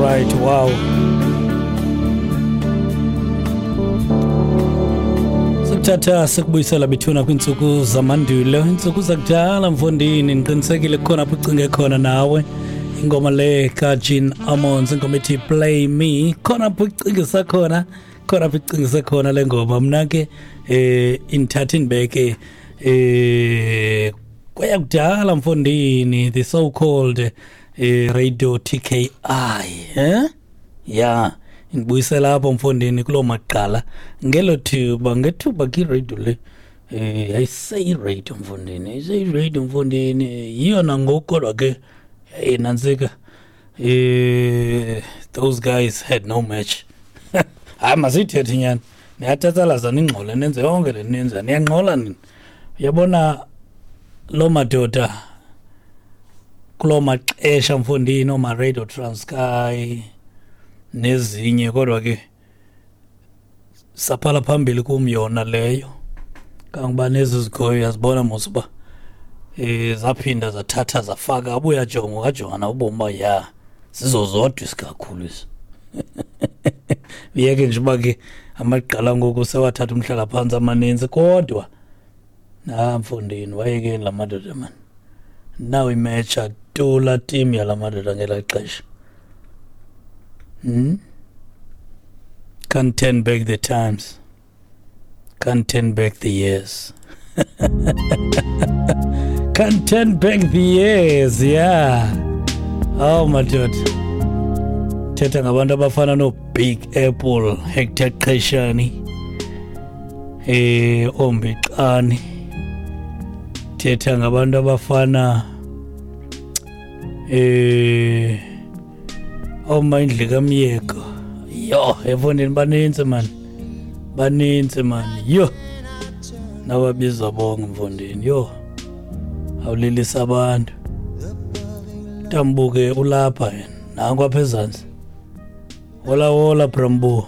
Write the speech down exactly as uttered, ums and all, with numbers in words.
Right, wow. Sikuthatha sikubuyisela bethuna kwiintsuku zamandulo, iintsuku zakudala mfondini. Ndiqinisekile kukhona apho ucinge khona nawe. Ingoma le kaJean Ammons, ingoma ethi Play Me, khona apho ucingisa khona, khona apho icingise khona le ngoma. Mna ke eh indithatha indibeke eh kweyakudala mfondini, the so called eh, Radio T K I, eh yeah, indibuyisela apho mfondini kuloo maqala ngelo thuba, ngethuba ke radio le eh yayiseyi-radio mfondini, yayiseyi-radio mfondini, yiyo nangoku kodwa ke hey nantsika, eh those guys had no match. Hayi masiyithethe inyani, niyathathalaza ningxole nenze yonke le nenza, niyangxola nini. Uyabona loo madoda kuloo maxesha mfondini, ooma-Radio Transkei nezinye, kodwa ke saphala phambili kum yona leyo. Kangoba nezi zikhoyo uyazibona mos uba eh zaphinda zathatha zafaka, abuya jonga wajonga na ubomi uba ya zizozodwa isikakhulu esi. Uyeke nje uba ke amagqala ngoku sewathatha umhlalaphantsi amaninzi, kodwa na mfondini wayekeni la madoda man. Naw imetsha tula team yala madoda ngelaa xesha. Hmm? Can't turn back the times. Can't turn back the years. Can't turn back the years, yeah. Oh madoda. Thetha ngabantu abafana no Big Apple, Hector Qeshani, eh Ombixani. Thetha ngabantu abafana eh oMandla kaMyeko. Yo, efondini baninzi man. Baninzi man. Yo. Nababiza bonke mfondini. Yo. Awulilisa abantu. Tambuke ulapha yena. Nangu apha ezantsi. Hola hola Brambo.